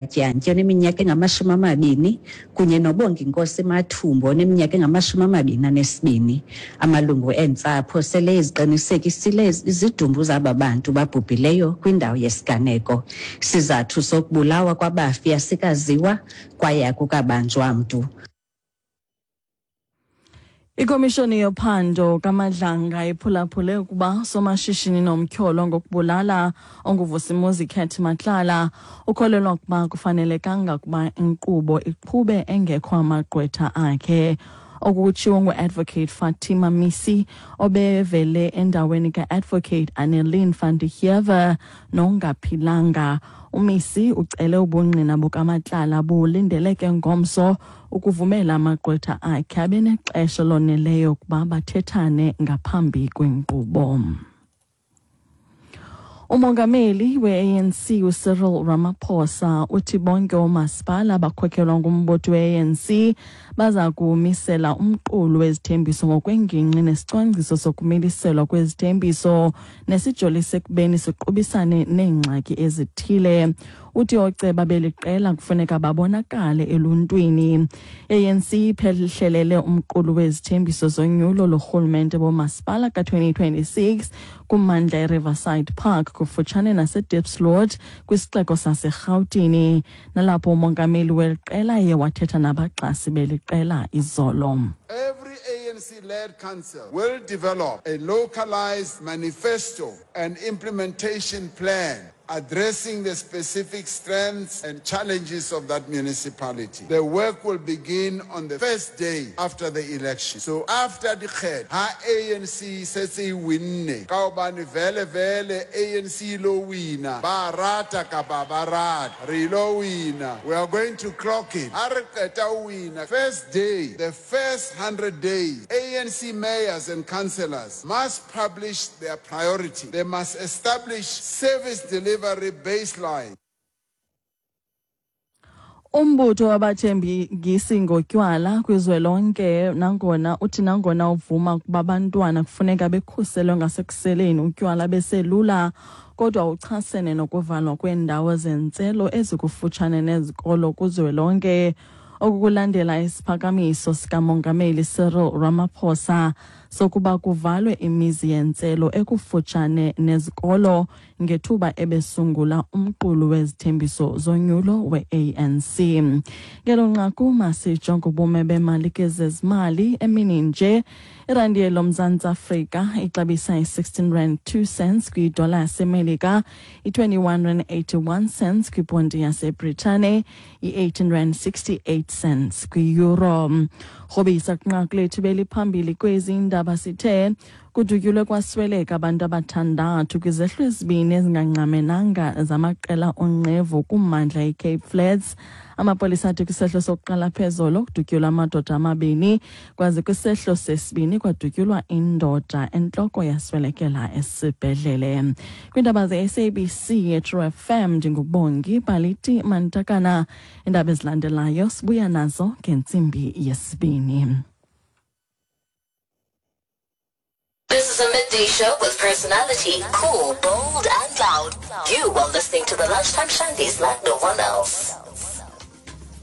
Dyantyi oneminyaka engama-20 kunye noBonginkosi Mathumbu oneminyaka engama-22. Amalungu eentsapho sele eziqinisekisile izidumbu zaba bantu babhubhileyo kwindawo yesiganeko. Isizathu sokubulawa kwabafi asikaziwa kwaye akukabanjwa mntu. Ikomishoni yophando kaMadlanga iphulaphule ukuba somashishini nomtyholo ngokubulala onguVusimuzi Cat Matlala ukholelwa ukuba kufanelekanga ukuba inkqubo iqhube engekho amagqwetha akhe. Oku kutshiwo ngu-Advocate Fatima Misi obevele endaweni ka-Advocate Annelien van der Heever nongaphilanga. UMisi ucele ubungqina bukaMatlala bulindeleke ngomso ukuvumela amagqwetha akhe abe nexesha loneleyo ukuba bathethane ngaphambi kwenkqubo. Umongameli we-ANC uCyril Ramaphosa uthi bonke oomasipala abakhokelwa ngumbutho we-ANC baza kumisela umqulu wezithembiso ngokwengingqi nesicwangciso sokumiliselwa kwezithembiso nesijolise ekubeni siqubisane neengxaki ezithile. Uthi ooceba beli qela kufuneka babonakale eluntwini. ANC iphehlelele umqulu wezithembiso zonyulo lorhulumente bomasipala ka-2026 kummandla eRiverside Park kufutshane naseDiepsloot kwisixeko saseRhawutini, nalapho umongameli weli qela ye wathetha nabaxhasi beli qela izolo. Every ANC-led council will develop a localized manifesto and implementation plan addressing the specific strengths and challenges of that municipality. The work will begin on the first day after the election. So after the kgetho, ha ANC setse e winne, ka hobane vele vele ANC lo wina, ba rata kapa ba rata, re lo wina. We are going to clock it. Ha re qeta ho wina, first day, the first 100 days, ANC mayors and councillors must publish their priority. They must establish service delivery baseline. Umbutho wabathengisi ngotywala kwizwelonke nangona uthi nangona uvuma ukuba abantwana kufuneka bekhuselwe ngasekuseleni utywala beselula, kodwa uchasene nokuvalwa kweendawo zentselo ezikufutshane nezikolo kuzwelonke. Oku kulandela isiphakamiso sikaMongameli Cyril Ramaphosa sokuba kuvalwe imizi yentselo ekufutshane nezikolo ngethuba ebesungula umqulu wezithembiso zonyulo we-ANC. Ngelo nqaku masijonge ubume bemali kezezimali emini nje. Irandi yeloMzantsi Afrika ixabisa i-16 rand 2 cents kwidola yaseMelika, i-21 rand 81 cents kwiponti yaseBritane, i-18 rand 68 cents kwi-euro. Rhobisa kwinqaku lethu beliphambili kwezi ndaba sithe kudutyulwe kwasweleka abantu abathandathu kwizehlo ezibini ezingangqamenanga zamaqela onqevu kummandla iCape Flats. Amapolisa athi kwisehlo sokuqala phezolo kudutyulwa amadoda amabini, kwaze kwisehlo sesibini kwadutyulwa indoda entloko yaswelekela esibhedlele. Kwiindaba ze-SABC yeTrue FM ndinguBongi Baliti Mantakana. Iindaba ezilandelayo sibuya nazo ngentsimbi yesibini. This is a midday show with personality, cool, bold, and loud. You are listening to the Lunchtime Shandies like no one else.